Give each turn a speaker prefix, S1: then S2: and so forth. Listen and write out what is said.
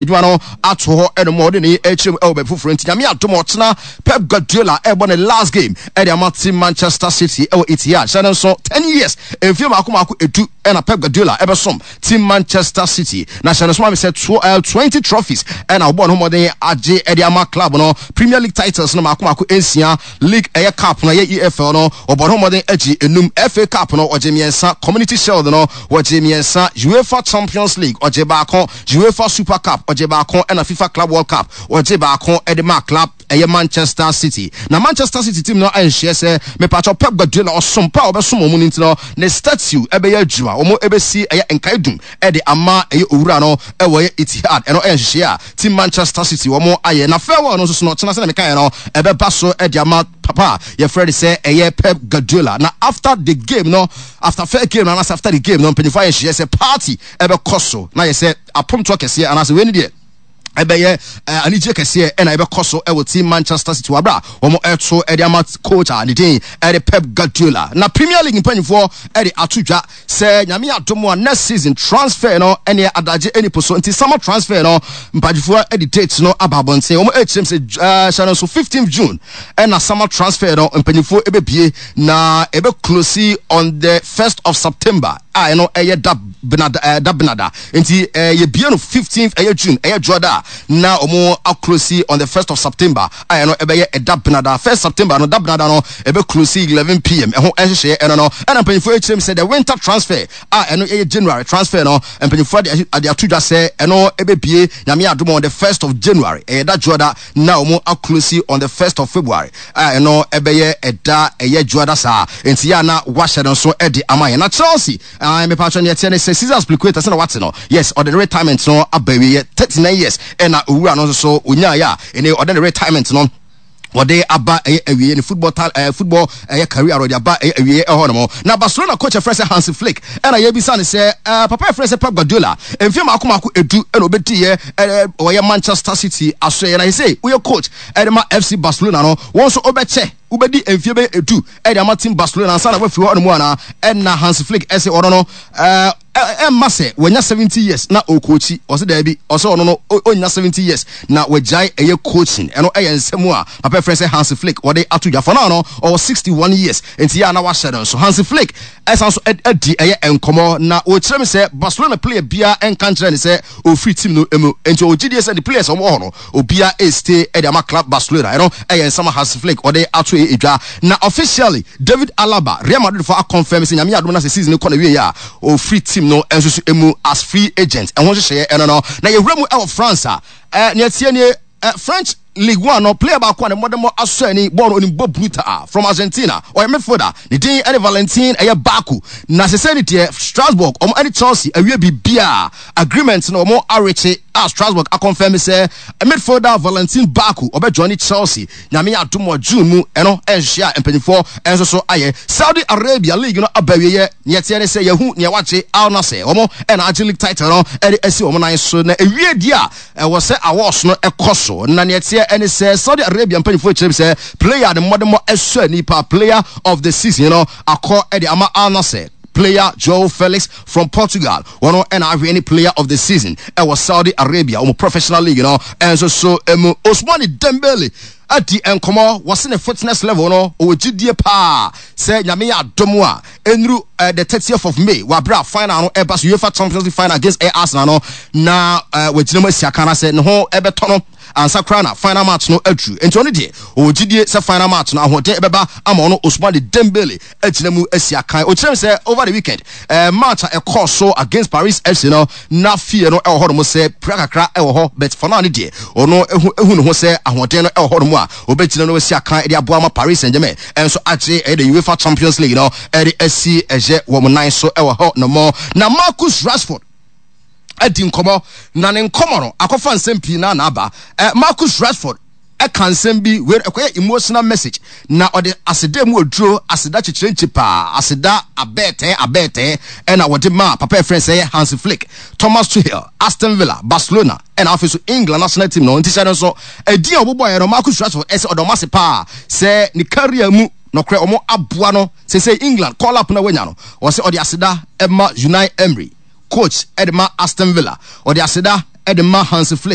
S1: Adwuma no ato hɔ ɛnom a ɔde ne ɛkyerɛ mu ɛwɔ baabi foforɔ. Nti Nyame adom ɔkyena Pep Guardiola ɛbɔ ne last game ɛde ama team Manchester City ɛwɔ Etihad. Hyɛ no nso 10 years, mfie mako mako 10 ɛna Pep Guardiola ɛbɛsom team Manchester City. Na hyɛ no nso ma me sɛ 20 trophies ɛna ɔbɔ ne ho mmɔden agye ɛde ama club no. Premier League titles no mako mako 6, League ɛyɛ cup no, ɛyɛ EFL no, ɔbɔ ne ho mmɔden agye 5, FA Cup no ɔgye 3, Community Shield no wɔgye 3, UEFA Champions League ɔgye 1, UEFA Super Cup ɔgye 1, ɛna FIFA Club World Cup ɔgye 1 ɛde ma club ɛyɛ Manchester City. Na Manchester City team no anhyɛ sɛ mepatɔ Pep Guardiola ɔsom pa a ɔbɛsom wɔn no nti no, ne statue ɛbɛyɛ adwuma, wɔn ɛbɛsi ɛyɛ nkaedum ɛde ama ɛyɛ owura no ɛwɔ ɛyɛ Etihad. Ɛno ɛyɛ nhyehyɛeɛ a team Manchester City wɔn ayɛ. Na farewell no nso so no, ɔkyena sɛ na mekaeɛ no, ɛbɛba so ɛde ama papa a yɛfrɛ no sɛ ɛyɛ Pep Guardiola. Na after the game no, after fair game no anaasɛ after the game no, mpanyinfoɔ ayɛ nhyehyɛeɛ sɛ party ɛbɛkɔ so na yɛ sɛ apomtoɔ kɛseɛ anaasɛ wei ne deɛ ɛbɛyɛ anigye kɛseɛ ɛna ɛbɛkɔ so ɛwɔ team Manchester City wɔ abere a wɔn ɛto ɛde ama coach a ne din ɛde Pep Guardiola. Na Premier League mpanyinfoɔ ɛde ato dwa sɛ Nyame adom a, next season transfer no ɛne adagye ɛni po so. Nti summer transfer no, mpanyinfoɔ ɛde date no aba abɔnten. Wɔn ɛkyerɛm sɛ hyɛ no nso 15 June ɛna summer transfer no mpanyinfoɔ ɛbɛbie na ɛbɛ close on the 1st of September a ɛno ɛyɛ da benada, da benada. Nti yɛbie no 15th ɛyɛ June, ɛyɛ dwoada, na wɔn aclose on the 1st of September a ɛno ɛbɛyɛ ɛda benada. 1st September no, da benada no, ɛbɛ close 11 p.m. Ɛho ɛhyehyɛ ɛno no. Ɛna mpanyinfoɔ akyerɛ mu sɛ the winter transfer a ɛno ɛyɛ January transfer no, mpanyinfoɔ de ato dwa sɛ ɛno ɛbɛbie, Nyame adom, on the 1st of January, ɛyɛ da dwoada, na wɔn aclose on the 1st of February a ɛno ɛbɛyɛ ɛda ɛyɛ dwoada saa. Nti yɛ a na wahyɛ no nso ɛde ama yɛn. Na Chelsea, mepatwɛ, neɛ ɛteɛ ne sɛ Cesar Azpilicueta, sɛ na wate no, yes, ɔde ne retirement no aba awieɛ. 39 years ɛna owura no nso so onyaeɛ a ɛne ɔde ne retirement no wɔde aba ɛyɛ awie, ne football tal football ɛyɛ career wɔde aba ɛyɛ awie ɛhɔ nom. Na Barcelona coach ɛfrɛ sɛ Hansi Flick, ɛna yɛbisa ne sɛ papa ɛfrɛ sɛ Pep Guardiola mfe mako mako 10 ɛna obɛdi yɛ ɔyɛ Manchester City aso yɛ, na yɛsɛ woyɛ coach ɛde ma FC Barcelona no, wɔn nso wobɛkyɛ wobɛdi mfie bɛyɛ 10 ɛde ama team Barcelona ansa na wafiri hɔ nom ana? Ɛna Hansi Flick ɛsɛ ɔno no ɛmma sɛ wanya 70 years na ɔcoachi. Ɔsɛ daabi, ɔsɛ ɔno no ɔnya 70 years na wagyae ɛyɛ coaching. Ɛno ɛyɛ nsɛm a papa frɛ sɛ Hansi Flick wɔde ato dwa. For now no, ɔwɔ 61 years, nti yɛ a na wahyɛ no nso. Hansi Flick ɛsan so adi ɛyɛ nkɔmmɔ na wɔkyerɛ me sɛ Barcelona player biara ɛnka nkyerɛ ne sɛ ɔfiri team no mu, nti ɔgyidie sɛ ne players a wɔwɔ hɔ no, obiara ɛstay ɛde ama club Barcelona. Ɛno ɛyɛ nsɛm a Hansi Flick ɔde ato ɛyɛ edwa. Na officially David Alaba, Real Madrid fo aconfirm sɛ Nyame adom na sɛ season kɔ na wie a, ɔfiri team no nso so emu as free agent. Ɛho nhyehyɛeɛ ɛno no. Na yɛwura mu ɛwɔ France a, nea tie nie, French League One no, player baako a ne mmɔdemmɔ asɔ ani, bɔɔl no onim bɔ brutal, from Argentina, ɔyɛ midfielder, ne din ɛne Valentin ɛyɛ Barco. Na sese ne deɛ, Strasbourg ɔmo ɛne Chelsea awie biribiara, agreement no ɔmo arekye a Strasbourg aconfirm sɛ midfielder Valentin Barco ɔbɛ join Chelsea, Nyame adom wɔ June mu. Ɛno ɛnhyehyɛ a mpanyinfoɔ ɛnso so ayɛ. Saudi Arabia League no aba awieɛ. Neɛ teɛ ne sɛ yɛhu nea wagye, Al Nassr, wɔn ɛna agye league title no ɛde asi wɔn nan so. Na ewie di a ɛwɔ sɛ awards no ɛkɔ so, na neɛ teɛ ɛne sɛ Saudi Arabia mpanyinfoɔ kyerɛ sɛ player ne mmɔdemmɔ ɛsɔ ani pa, player of the season no akɔ ɛde ama Al Nassr player Joe Felix from Portugal. Wɔn ɛna ahwɛ ne player of the season ɛwɔ Saudi Arabia wɔn professional league no ɛnso so emu. Ousmane Dembele adi nkɔmɔ, wɔsi ne fitness level no, ɔwɔ gyidie paa sɛ Nyame yɛ adom a, ɛnuru the 30th of May wɔ abere a final no ɛba so, UEFA Champions League final against Arsenal no, na wagyina mu asi aka na sɛ ne ho ɛbɛtɔ no ansa koraa na final match no aduru. Nti ɔno deɛ ɔwɔ gyidie sɛ final match no ahoɔden ɛbɛba ama ɔno Ousmane Dembele agyina mu asi akan. Ɔkyerɛ mu sɛ over the weekend match a ɛkɔɔ so against Paris FC no, na fie no ɛwɔ hɔ nom sɛ pira kakra ɛwɔ hɔ, but for now ne deɛ ɔno ehu ne ho sɛ ahoɔden no ɛwɔ hɔ nom a ɔbɛgyina no asi akan ɛde aboa ma Paris Saint-Germain ɛnso agye ɛyɛ the UEFA Champions League no ɛde asi ɛyɛ wɔn nan so ɛwɔ hɔ nom. Na Marcus Rashford adi nkɔmɔ, na ne nkɔmɔ no akɔfa nsɛm pii na aba. Marcus Rashford ɛka nsɛm bi wei, ɛkɔyɛ emotional message, na ɔde aseda mu oduro, aseda kyekyere nkyi paa, aseda abɛɛtɛɛ abɛɛtɛɛ ɛna wɔde maa papa ɛfrɛ sɛ Hansi Flick, Thomas Tuchel, Aston Villa, Barcelona, ɛna afei so England national team no. Nti hyɛ no nso ɛdin a wɔbobɔeɛ no, Marcus Rashford ɛsɛ ɔdɔ ɔmo ase paa sɛ ne career mu nɔkorɛ ɔmo aboa no sɛ England call up na wanya no. Ɔsɛ ɔde aseda ɛma Unai Emery, coach ɛde ma Aston Villa, ɔde aseda ɛde ma Hansi Flick.